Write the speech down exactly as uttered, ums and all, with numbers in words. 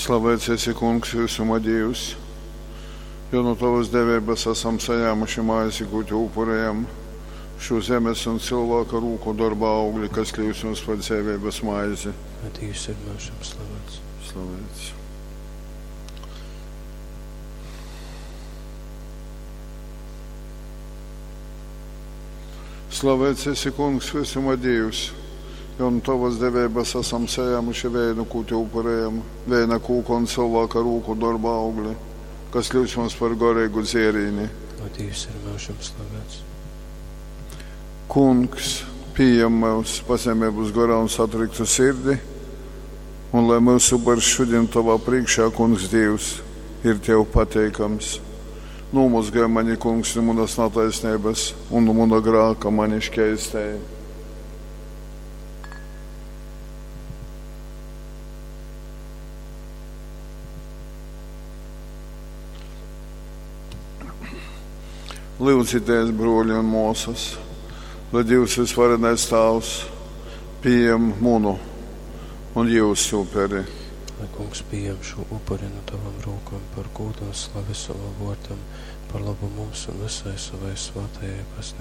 Slavēts esi, Kungs, visuma Dīvs, jo no Tavas deveibas asam sajēmuši maizi, kū Tev upurējam, šo zemes un cilvēka rūku dorba augli, kas kļūst mums par dzeiveibas maizi. Lai Dievs ir myužam slavēts. Slavēts. Slavēts esi, Kungs, visuma Dīvs, jo no Tavas deveibas asam sajēmuši vēnu, kū Tev upurējam, vēna kūka un cilvēka rūku dorba augli, kas kļūst mums par garīgu dzērīni. Lai Dievs ir myužam slavēts. Kungs, pieņem mūs pazemības garā un satriktu sirdi, un lai mūsu upurs šodien Tavā priekšā, Kungs Dievs, ir Tev pateikams. Nomazgāj mani, Kungs, no manas netaisnības un no mana grāka mani šķeistēji. Lūdzieties, broļi un māsas, lai Dievs visvarenais Tēvs pieņem munu un jūsu uperi. Lai Kungs pieņem šo upuri no tavām rokām par godu un slavi savam vārdam, par labu mums un visai savai svētajai baznīcai.